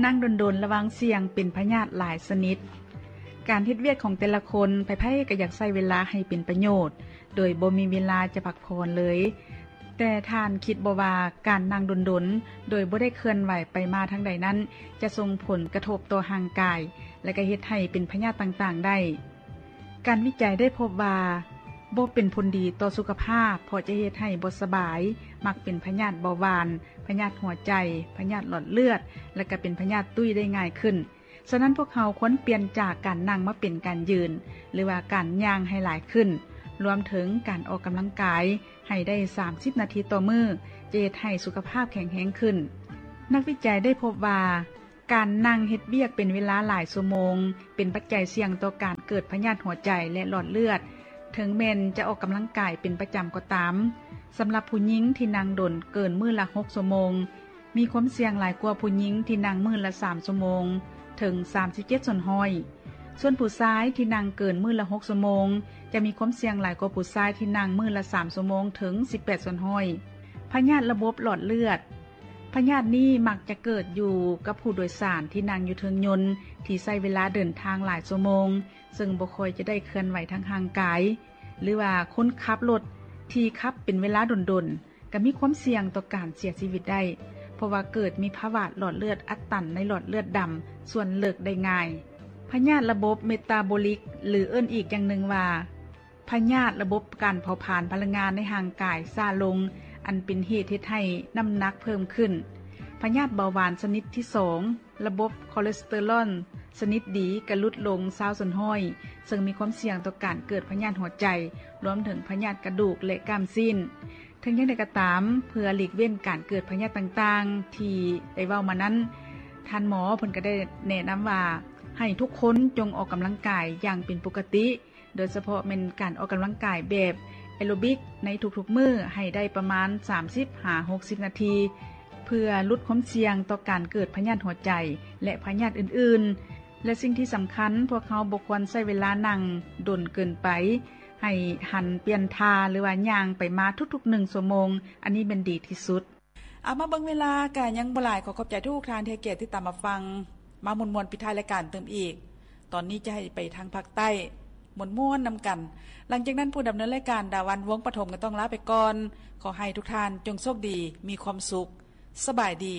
ນັ່ງດົນໆລະວັງສ່ຽງເປັນພະຍາດຫຼາຍຊະນິດ. ການເຮັດວຽກຂອງແຕ່ລະຄົນ ໃຜໆກໍຢາກໃຊ້ເວລາໃຫ້ເປັນປະໂຫຍດ ໂດຍບໍ່ມີເວລາຈະພັກຜ່ອນເລີຍ. ແຕ່ທ່ານຄິດບໍ່ວ່າການນັ່ງດົນໆ ໂດຍບໍ່ໄດ້ເຄື່ອນໄຫວໄປມາທາງໃດນັ້ນ ຈະສົ່ງຜົນກະທົບຕໍ່ຮ່າງກາຍ ແລະ ກໍເຮັດໃຫ້ເປັນພະຍາດຕ່າງໆໄດ້? ການວິໄຈໄດ້ພົບວ່າບໍ່ເປັນຜົນດີຕໍ່ສຸຂະພາບ ເພາະຈະເຮັດໃຫ້ບໍ່ສະບາຍ, ມັກເປັນພະຍາດເບົາຫວານ, ພະຍາດຫົວໃຈ, ພະຍາດຫຼອດເລືອດ ແລະ ກໍເປັນພະຍາດຕຸ້ຍໄດ້ງ່າຍຂຶ້ນ. ສະນັ້ນພວກເຮົາຄວນປ່ຽນຈາກການນັ່ງມາເປັນການຢືນ ຫຼືວ່າການຍ່າງໃຫ້ຫຼາຍຂຶ້ນ, ລວມເຖິງການອອກກຳລັງກາຍໃຫ້ໄດ້ສາມສິບນາທີຕໍ່ມື້ ຈະເຮັດໃຫ້ສຸຂະພາບແຂງແຮງຂຶ້ນ. ນັກວິໄຈໄດ້ພົບວ່າ ການນັ່ງເຮັດວຽກເປັນເວລາຫຼາຍຊົ່ວໂມງ ເປັນປັດໄຈສ່ຽງຕໍ່ການເກີດພະຍາດຫົວໃຈ ແລະ ຫຼອດເລືອດ, ເຖິງແມ່ນຈະອອກກຳລັງກາຍເປັນປະຈຳກໍຕາມ. ສຳລັບຜູ້ຍິງທີ່ນັ່ງດົນເກີນມື້ລະຫົກຊົ່ວໂມງ ມີຄວາມສ່ຽງຫຼາຍກວ່າຜູ້ຍິງທີ່ນັ່ງມື້ລະສາມຊົ່ວໂມງ ເຖິງສາມສິບເຈັດສ່ວນຮ້ອຍ. ສ່ວນຜູ້ຊາຍທີ່ນັ່ງເກີນມື້ລະຫົກຊົ່ວໂມງ ຈະມີຄວາມສ່ຽງຫຼາຍກວ່າຜູ້ຊາຍທີ່ນັ່ງມື້ລະສາມຊົ່ວໂມງ ເຖິງສິບແປດສ່ວນຮ້ອຍ. ພະຍາດລະບົບຫຼອດເລືອດ. ພະຍາດນີ້ມັກຈະເກີດຢູ່ກັບຜູ້ໂດຍສານທີ່ນັ່ງຢູ່ເທິງຍົນ ທີ່ໃຊ້ເວລາເດີນທາງຫຼາຍຊົ່ວໂມງ ເຊິ່ງບໍ່ຄ່ອຍຈະໄດ້ເຄື່ອນໄຫວທາງຮ່າງກາຍ ຫຼືວ່າຄົນຂັບລົດທີ່ຂັບເປັນເວລາດົນໆ ກໍມີຄວາມສ່ຽງຕໍ່ການເສຍຊີວິດໄດ້ ເພາະວ່າເກີດມີພາວະຫຼອດເລືອດອັດຕັນໃນຫຼອດເລືອດດຳສ່ວນເລິກໄດ້ງ່າຍ. ພະຍາດລະບົບເມຕາໂບລິກ ຫຼື ເອີ້ນອີກຢ່າງໜຶ່ງວ່າ ພະຍາດລະບົບການເຜົາຜານພະລັງງານໃນຮ່າງກາຍຊ້າລົງ, ອັນເປັນເຫດເຮັດໃຫ້ນ້ຳໜັກເພີ່ມຂຶ້ນ. ພະຍາດເບົາຫວານຊະນິດທີສອງ, ລະບົບຄໍເລສເຕີຣອນຊະນິດດີກະຫຼຸດລົງຊາວສ່ວນຮ້ອຍ, ເຊິ່ງມີຄວາມສ່ຽງຕໍ່ການເກີດພະຍາດຫົວໃຈ, ລວມເຖິງພະຍາດກະດູກ ແລະ ກ້າມຊີ້ນ. ເຖິງຢ່າງໃດກໍຕາມ, ເພື່ອຫຼີກເວັ້ນການເກີດພະຍາດຕ່າງໆທີ່ໄດ້ເວົ້າມານັ້ນ, ທ່ານໝໍເພິ່ນກໍໄດ້ແນະນຳວ່າ ໃຫ້ທຸກຄົນຈົ່ງອອກກຳລັງກາຍຢ່າງເປັນປົກກະຕິ, ໂດຍສະເພາະແມ່ນການອອກກຳລັງກາຍແບບແອໂຣບິກໃນທຸກໆມື້ໃຫ້ໄດ້ປະມານສາມສິບຫາຫົກສິບນາທີ ເພື່ອຫຼຸດຄວາມສ່ຽງຕໍ່ການເກີດພະຍາດຫົວໃຈ ແລະ ພະຍາດອື່ນໆ. ແລະ ສິ່ງທີ່ສຳຄັນ, ພວກເຮົາບໍ່ຄວນໃຊ້ເວລານັ່ງດົນເກີນໄປ, ໃຫ້ຫັນປ່ຽນທ່າ ຫຼືວ່າຍ່າງໄປມາທຸກໆໜຶ່ງຊົ່ວໂມງ, ອັນນີ້ແມ່ນດີທີ່ສຸດ. ເອົາ ມາເບິ່ງເວລາກະຍັງບໍ່ຫຼາຍ, ຂໍຂອບໃຈທຸກທ່ານທີ່ໃຫ້ກຽດຕິດຕາມຮັບຟັງ. ມາມ່ວນໆປິດທ້າຍລາຍການຕື່ມອີກ. ຕອນນີ້ຈະໃຫ້ໄປທາງພາກໃຕ້ ມ່ວນໆນຳກັນ. ຫຼັງຈາກນັ້ນຜູ້ດຳເນີນລາຍການ ດາວັນ ວົງປະຖົມ ກໍຕ້ອງລາໄປກ່ອນ. ຂໍໃຫ້ທຸກທ່ານຈົ່ງໂຊກດີ, ມີຄວາມສຸກ. ສະບາຍດີ.